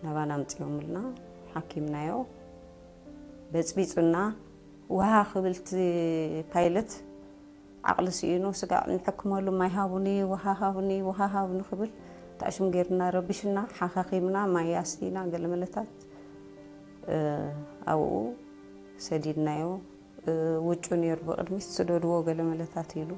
ናባና ኣምፅኦምልና፣ ሓኪምናዮ። በፅቢፁና። ውሃ ክብል እቲ ፓይለት፣ ዓቕሊ ስኢኑ፣ ስጋዕ ንሕክመሉ፣ ማይ ሃቡኒ፣ ውሃ ሃቡኒ፣ ውሃ ሃቡኒ ክብል፣ ታሽም ጌርና፣ ረቢሽና፣ ሓኻኺምና፣ ማይ ኣስቲና፣ ገለ መለታት ኣብኡ ሰዲድናዮ። ውጩ ነይሩ፣ ብቕድሚት ስደድዎ፣ ገለ መለታት ኢሉ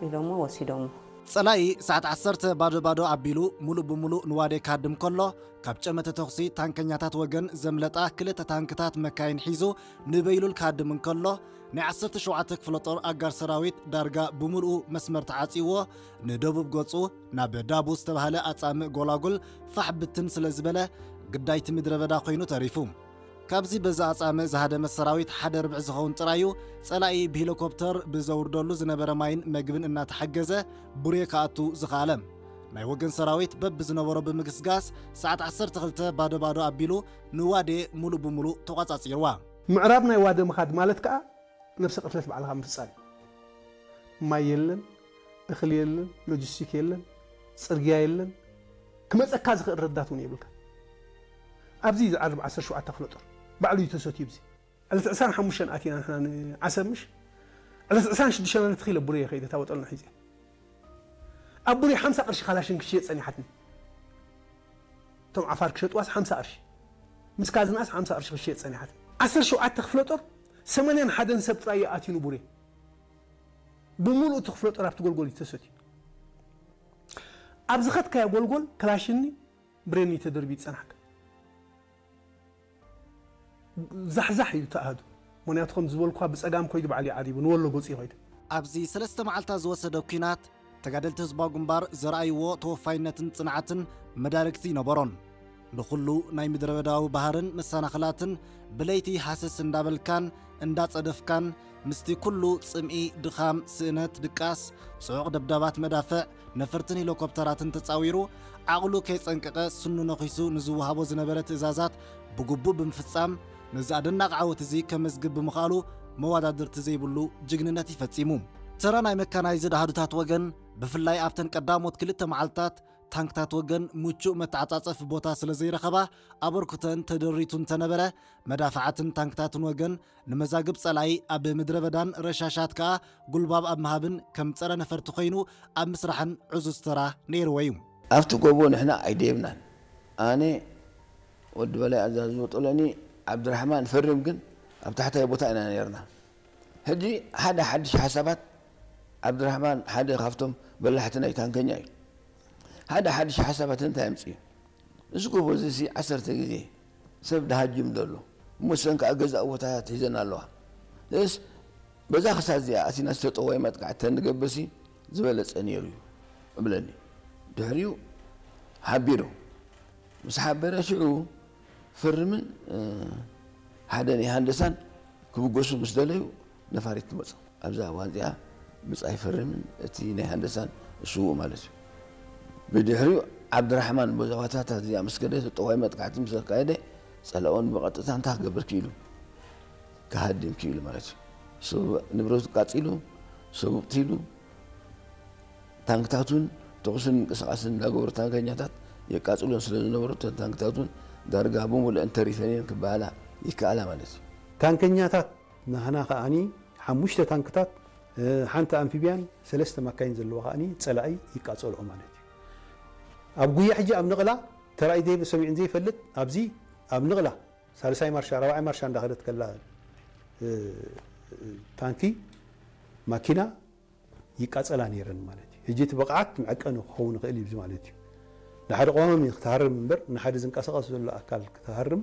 ኢሎሞ ወሲዶሞ። ጸላኢ ሰዓት ዓሰርተ ባዶ ባዶ ኣቢሉ፣ ሙሉእ ብሙሉእ ንዋዴ ክሃድም ከሎ፣ ካብ ጨመተ ተኹሲ ታንከኛታት ወገን ዘምለጣ ክልተ ታንክታት መካይን ሒዙ፣ ንበይሉል ክሃድም እንከሎ፣ ናይ ዓሰርተ ሸውዓተ ክፍለ ጦር ኣጋር ሰራዊት ዳርጋ ብሙሉኡ መስመር ተዓጽይዎ፣ ንደቡብ ገጹ ናብ ዳቡ ዝተባህለ ኣጻምእ ጎላጉል ፋሕ ብትን ስለ ዝበለ፣ ግዳይቲ ምድረ በዳ ኮይኑ ተሪፉ። ካብዚ በዚ ኣጻምእ ዝሃደመ ሰራዊት ሓደ ርብዒ ዝኸውን ጥራዩ ጸላኢ ብሄሊኮፕተር ብዘውርደሉ ዝነበረ ማይን መግብን እናተሓገዘ ቡሬ ክኣቱ ዝኸኣለ። ናይ ወገን ሰራዊት በብዝነበሮ ብምግስጋስ ሰዓት ዓሰርተ ክልተ ባዶ ባዶ ኣቢሉ ንዋዴ ሙሉእ ብሙሉእ ተቋጻጺርዋ። ምዕራብ ናይ ዋደ ምኻድ ማለት ከኣ ነብሰ ቅትለት ባዕልኻ ምፍጻም እዩ። ማይ የለን፣ እኽሊ የለን፣ ሎጂስቲክ የለን፣ ጽርግያ የለን፣ ክመጸካ ዝኽእል ረዳት እውን የብልካ። ኣብዚ ዝዓርብ ዓሰርተ ሸውዓተ ክፍለ ጦር ባዕሉ እዩ ተሰትዩ። ብዚ ዕለት ዕስራን ሓሙሽተን ኣቲና ንሕና ንዓሰብ ምሽ ዕለት ዕስራን ሽዱሽተን ኣነ ተኺለ ቡሬ ከይደ ታወጠልና ሒዘ ኣብ ቡሬ ሓምሳ ቅርሺ ካላሽን ክሽየጥ ጸኒሓትኒ። እቶም ዓፋር ክሸጥዋስ ሓምሳ ቅርሺ፣ ምስ ካዝናስ ሓምሳ ቅርሺ ክሽየጥ ጸኒሓትኒ። ዓሰርተ ሸውዓተ ክፍለ ጦር ሰማንያን ሓደን ሰብ ጥራይ ኣትዩ ንቡሬ። ብምሉእ እቲ ክፍለ ጦር ኣብቲ ጎልጎል እዩ ተሰትዩ። ኣብ ዝኸድካዮ ጎልጎል ክላሽኒ ብሬኒ ተደርቢ ይጸናሕካ። ዛሕዛሕ እዩ ተኣሃዱ። ምክንያቱ ከም ዝበልኳ ብጸጋም ኮይዱ ባዕሉ ይዓሪቡ ንወሎ ገጹ ይኸይዱ። ኣብዚ ሰለስተ መዓልታት ዝወሰደ ኲናት ተጋደልቲ ህዝባዊ ግንባር ዘርኣይዎ ተወፋይነትን ጽንዓትን መዳርግቲ ይነበሮን። ንኹሉ ናይ ምድረ በዳዊ ባህርን መሰናኽላትን ብለይቲ ሃሰስ እንዳበልካን እንዳጸደፍካን ምስቲ ኩሉ ጽምኢ፣ ድኻም፣ ስእነት፣ ድቃስ፣ ጽዑቕ ደብዳባት መዳፍዕ፣ ነፈርትን ሄሊኮፕተራትን ተጻዊሩ ዓቕሉ ከይጸንቀቐ ስኑ ነኺሱ ንዝወሃቦ ዝነበረ ትእዛዛት ብግቡእ ብምፍጻም ነዚ ኣደናቒ ዓወት እዚ ከመዝግብ ብምኽኣሉ መወዳድርቲ ዘይብሉ ጅግንነት እዩ ፈጺሙ። ተራ ናይ መካናይዝድ ኣሃዱታት ወገን ብፍላይ ኣብተን ቀዳሞት ክልተ መዓልታት ታንክታት ወገን ምቹእ መተዓጻጸፊ ቦታ ስለ ዘይረኸባ ኣበርክቶን ተደሪቱ እንተነበረ መዳፍዓትን ታንክታትን ወገን ንመዛግብ ጸላኢ ኣብ ምድረ በዳን ረሻሻት ከኣ ጉልባብ ኣብ ምሃብን ከም ጸረ ነፈርቲ ኮይኑ ኣብ ምስራሕን ዕዙዝ ተራ ነይርዎ እዩ። ኣብቲ ጎቦ ንሕና ኣይደየብናን። ኣነ ወዲ በላይ ኣዛዚ ወጦለኒ ዓብድራሕማን ፈርም ግን ኣብ ታሕታይ ቦታ ኢና ነርና። ሕጂ ሓደ ሓድሽ ሓሳባት ዓብድራሕማን ሓደ ካብቶም በላሕቲ ናይ ታንከኛ እዩ። ሓደ ሓድሽ ሓሳባት እንታይ ኣምፅኡ? እዚ ጎቦ እዚ ሲ ዓሰርተ ግዜ ሰብ ደሃጅም ዘሎ እሞ ሰን ከዓ ገዛእ ቦታታት ሒዘን ኣለዋ። እስ በዛ ክሳት እዚኣ ኣቲና ዝተጠዋይ መጥቃዕቲ ተንገብርሲ ዝበለፀ ነይሩ እዩ እብለኒ። ድሕሪኡ ሓቢሩ ምስ ሓበረ ሽዑ ፈርምን ሓደ ናይ ሃንደሳን ክብገሱ ምስ ደለዩ ነፋሪት ትመፁ። ኣብዛ እዋን እዚኣ ብጻይ ፈርምን እቲ ናይ ሃንደሳን ስዉእ ማለት እዩ። ብድሕሪኡ ዓብድራሕማን በዛ ዋታታት እዚኣ ምስ ከደ ጠዋይ መጥቃዕቲ ምስ ኣካየደ ጸላኦን ብቐጥታ እንታይ ክገብር ክኢሉ ክሃድም ክኢሉ ማለት እዩ። ሰብ ንብረቱ ቃጺሉ ሰብ ቕቲሉ ታንክታቱን ተኹስን ምንቅስቓስን እንዳገበሩ ታንከኛታት የቃጽሉን ስለ ዝነበሩ እተን ታንክታቱን ዳርጋ ብምሉአን ተሪፈን እየን ክበሃላ ይከኣላ ማለት እዩ። ታንከኛታት ናህና ከኣኒ ሓሙሽተ ታንክታት ሓንቲ ኣምፊብያን ሰለስተ ማካይን ዘለዎ ከኣኒ ጸላኢ ይቃጸልኦ ማለት እዩ። ኣብ ጉያ ሕጂ ኣብ ንቕላ ተራእዩ ዘይብ ሰሚዑን ዘይፈልጥ ኣብዚ ኣብ ንቕላ ሳልሳይ ማርሻ ራብዓይ ማርሻ እንዳኸደት ከላ ታንኪ ማኪና ይቃጸላ ነይረን ማለት እዩ። ሕጂ እቲ ብቕዓት መዐቀኒ ክኸውን ይኽእል እዩ ማለት እዩ። ንሓደ ቀዋሚ ክትሃርም እምበር ንሓደ ዝንቀሳቐስ ዘሎ ኣካል ክትሃርም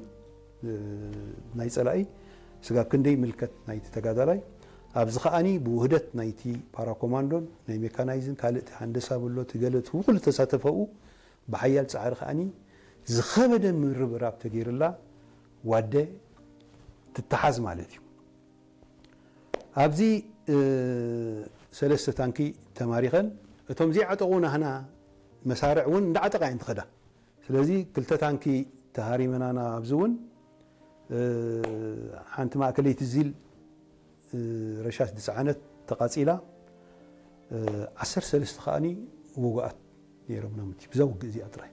ናይ ጸላኢ ስጋብ ክንደይ ምልከት ናይቲ ተጋዳላይ ኣብዚ ከኣኒ ብውህደት ናይቲ ፓራኮማንዶን ናይ ሜካናይዝን ካልእ እቲ ሃንደሳ ብሎ እቲ ገለ እቲ ውኩሉ ተሳተፈኡ ብሓያል ጻዕሪ ከኣኒ ዝኸበደ ምርብራብ ተገይርላ ዋደ ትተሓዝ ማለት እዩ። ኣብዚ ሰለስተ ታንኪ ተማሪኸን እቶም ዘይዓጠቑ ናህና መሳርዕ እውን እንዳዓጠቓ እየን ትኸዳ። ስለዚ ክልተ ታንኪ ተሃሪመናና ኣብዚ እውን ሓንቲ ማእከለይቲ ዚል ረሻሽ ዝፀዓነት ተቓፂላ ዓሰርተ ሰለስተ ከኣኒ ውጉኣት ነይሮም ናምቲ ብዛ ውግእ እዚኣ ጥራይ።